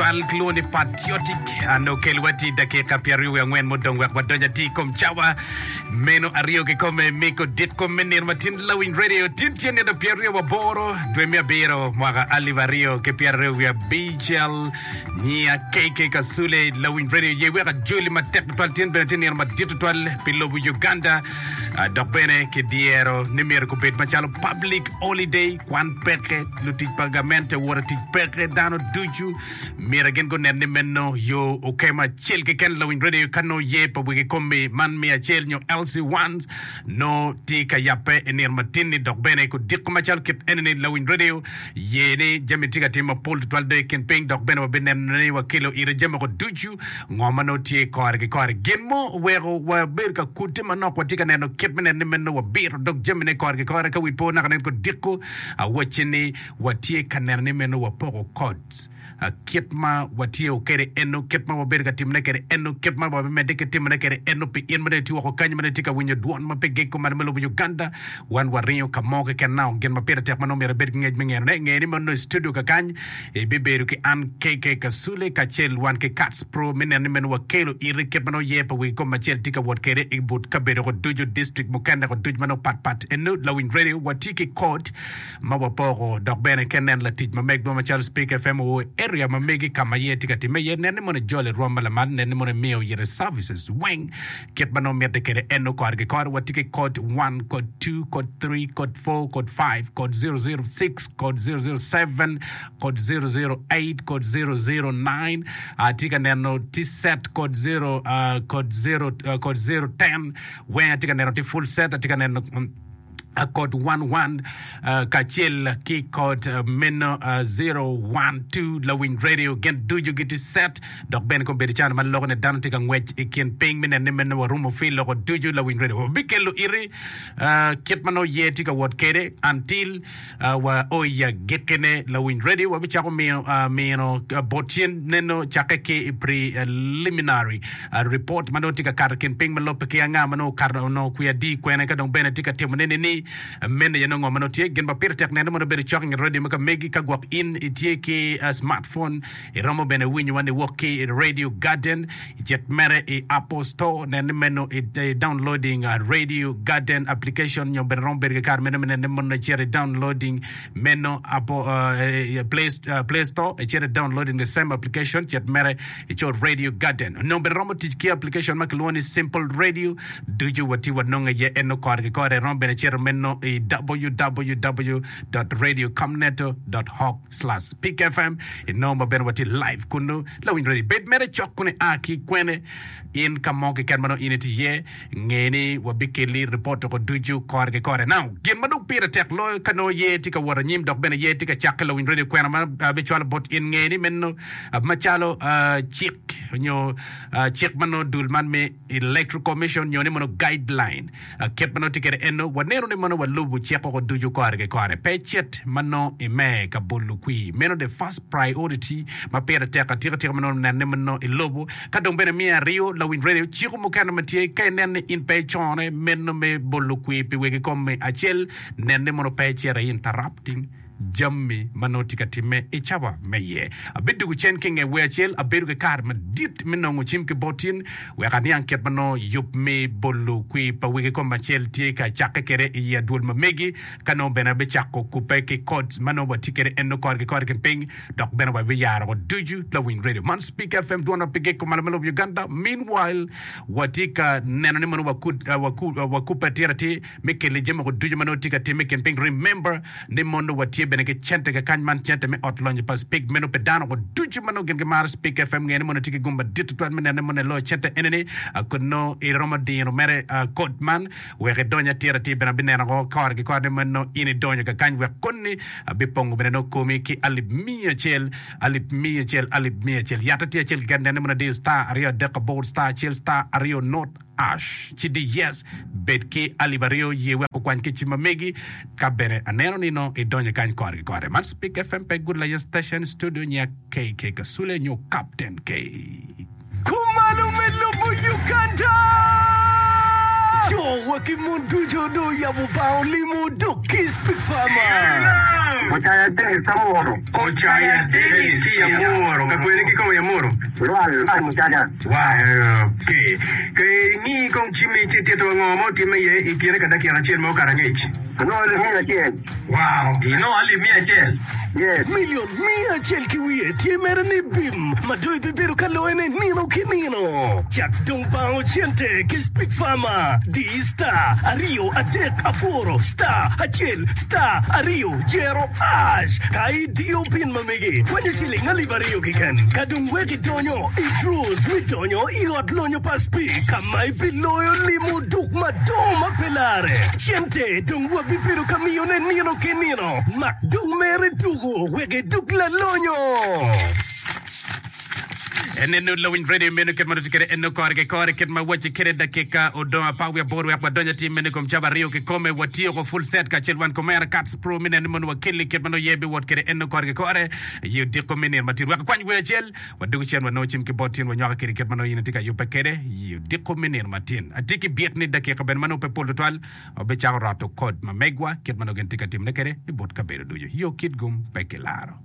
tutwal kilwongo ni Patriotic and okelwa ti dakika pyeraryo wiye angwen mudong wek wadony atir i kom cawa meno aryo kikome miko dit kom me nino matin Lawiny Radio tin tye nino pyeraryo waboro dwe me abiro mwaka alip aryo ki pyeraryo wiye abicel nyiya KK Kasule Lawiny Radio ye wek ajoli matek tutwal tin bene tye nino madit tutwal pi lobo Uganda Ah, dok bene kidyero ni myero gubed macalo public holiday, kwan peke, lutic pa gamente wot i tic peke, dano ducu myero gin gunen ni meno yo okemo acel keken lawiny radio ka nongo ye pa wegi komi man me acel nyo LC1 nongo tye ka yabbe i nino matin-ni dok bene kudiko macalo kit eni-ni lawiny radio ye ni jami tye ka timme mapol tutwal dong i kin piny dok bene wabineno ni wakelo ite jami woko ducu Ngo ma nongo tye kore ki kore? Gin mo oweko wabedo ka kutte manok. Watye ka neno kit me neno ni meno wabito dog jamine kore ki kore. Ka wi po naka nen kodiko, awacci ni watye ka neno ni meno wapoko codes. Kit ma watye kwede eno, kit ma wabedo ka timone kwede eno, kit ma wabimedde ki timone kwede eno pi in ma dong itye woko kany ma dong itye ka winyo dwon ma pe giko malo me lobo Uganda. Wan waringo ka mo keken nao gin ma pire tek ma nongo myero ibed ki ngec me ngenone. Nge ni meno i studio kakany. Ibibedo ki an KK Kasule kacel wan ki Kats Pro me neno ni meno wakelo iti kit ma nongo yer pa wegi kom acel tye ka wot kwede i but kabedo ko ducu, district mukene ko ducu ma nongo pat pat. Eno Lawiny Radio watye ki code ma wapoko dok bene ka inen latic ma megwa macalo Speak FM oo i area ma megi ka ma yer tye ka timme iye nen ni mono ijolo i rwom ma lamal nen ni mono imiyo ite services weng Kit ma nongo mitte kwede en kore ki kore, watye ki kod one, kod two, kod three, kod four, kod five, kod 006, kod 007, kod 008, kod 009. Atye ka neno tye set kod zero, ah, kod zero, ah, kod 010. Weng atye ka neno tye full set, atye ka neno mm, kod 11 kacel ki kod meno 012 lawiny radio gin ducu gitye set dok bene kombeddi cano ma loko ni dano tye ka ngwec i kin piny me neno ni meno warumo fi loko ducu lawiny radio wabikelo iti kit ma nongo ye tye ka wot kede until wa o i agikkine lawiny radio wabicako miyo mino bot cen neno cakke ki i preliminary Ripot ma nongo tye ka kato i kin piny ma lubbe ki anga ma nongo okato onongo kwi adi kwene ka dong bene tye ka timo ne ni meno aye nongo ngo ma nongo tye gin ma pire tek nene mono bedo cok i nget radio ma ka megi ka gwok in itye ki smartphone iromo bene winyo wa niwok ki i radio garden icit mere i apple store nen ni meno i downloading radio garden application nyo bene romo bedo ki kare meno me nene mono icito i downloading meno apple play, play store icito i downloading the same application cit mere Ico Radio Garden onongo bene romo tic ki application ma kilwongo ni Simple Radio. Ducu watye wanongo iye eno kore ki kore. Iromo bene cito meno i www.radiocomneto.org/peakfm. Inongo ma bene watye live kunu. Lawiny radio, bed mere cok kunu ia ki kwene in ka mo keken ma nongo in itye iye. Nge ni wabikelli ripot woko ducu kore ki kore. Now, gin ma dong pire tek loyo ka nongo yer tye ka wot anyim dok bene yer tye ka cakke lawiny radio kwena ma abicwalo bot in nge ni meno macalo cik nyo cik ma nongo dul man me Electoral Commission nyo ni mono guideline kit ma nongo tye kwede eno waneno ni mono walubo cik woko ducu kore ki kore. Pe icit ma nongo ime ka bolo kwir. Meno the first priority ma pire tek atika tika ma nongo nene ma nongo ilubo. Ka dong bene miyo aryo lawiny radio ciko mukene ma tye ka inen ni in pe icone meno me bolo kwir pi wegi kom acel nen ni mono pe icito i interrupting jami ma nongo tye ka timme i cawa me iye. Abidwogo cen ki i nge wer acel, abedo ki kare madit me nongo cim ki bot in wek aniang kit ma nongo yub me bolo kwir pa wegi kom acel tye ka cakke kwede i adwol ma megi, ka nongo bene abicako kubbe ki codes ma nongo watye kwede eno kore ki kore kin piny dok bene wabiyaro woko ducu lawiny radio man Speak FM dwon ma pe giko malo me lobo Uganda. Meanwhile, watye ka neno ni mono wakubbe atir atir me keli jami woko ducu ma nongo tye ka timme i kin piny. Remember ni mono watye bene ki cente kakany man cente me ot lonyo pa Speak meno pe dano woko ducu ma nongo gin gimaro Speak FM nge ni mono tye ki gum madit tutwal me neno ni mono eloyo cente enini kun nongo iromo diro mere code man wek idony atir atir bene abineno woko kore ki kore ni meno in idonyo kakany wek koni abipongo bene nongo komi ki alip miya acel alip miya acel alip miya acel yatte tye acel keken nene mono adiyo star aryo adek abor star acel star aryo not ash ci di yes bed ki alip aryo ye wek okwany ki cim ma megi ka bene aneno ni nongo idonyo kany kore ki kore man Speak FM pe Good Lion Station studio nya KK Kasule nyo Captain K. Kumalo me lobo Uganda! Co wa ki mon ducu dong oyabo bang olimo dok ki Speak Farmer. Ocaya Dennis Amuro. Ocaya Dennis ki Amuro. Ka kwene kikome i Amuro? Lwal lwal mucaca. Ok. Ka ingi kong cimmi ci ititwa ngo ma otimme iye i kine ka dakika acel ma okato angec. Anongo alip miya acel. Wow! Inongo alip miya acel? Yes. Milion miya acel ki wiye tye mere ni bim ma dong ibibedo ka loyone nino ki nino. Cak dong bango cente ki Speak Farmer. Di star aryo adek aboro star acel star aryo jero ash ka idiyo pin ma megi kwanyo ciling alip aryo keken. Ka dong wek idonyo i draws me donyo i ot lonyo pa Speak ka ma ibiloyo limo duk madongo ma pe lare. Cente dong wabibedo ka miyone nino ki nino. Mak dong mere tuku wek iduk lalonyo. Enenu lawiny radio meno kit ma nongo tye kwede eno kore ki kore kit ma wacci kwede dakika odong apar wiye aboro wek wadony atir meno i kom cawa aryo kikome watyeko full set kacel wan komera Cats Pro me neno ni mono wakelli kit ma nongo ye biwot kwede eno kore ki kore i odiko me nino matir wek akwany wer acel wadwogo cen wanongo cim ki bot tin wanywako kwede kit ma nongo in itye ka yubbe kwede i odiko me nino matin. Atye ki byek ni dakika bene ma nongo pe pol tutwal wabicako roto kod ma megwa kit ma nongo gin tye ka timone kwede i but kabedo ducu. Yo kit gum pe kilaro.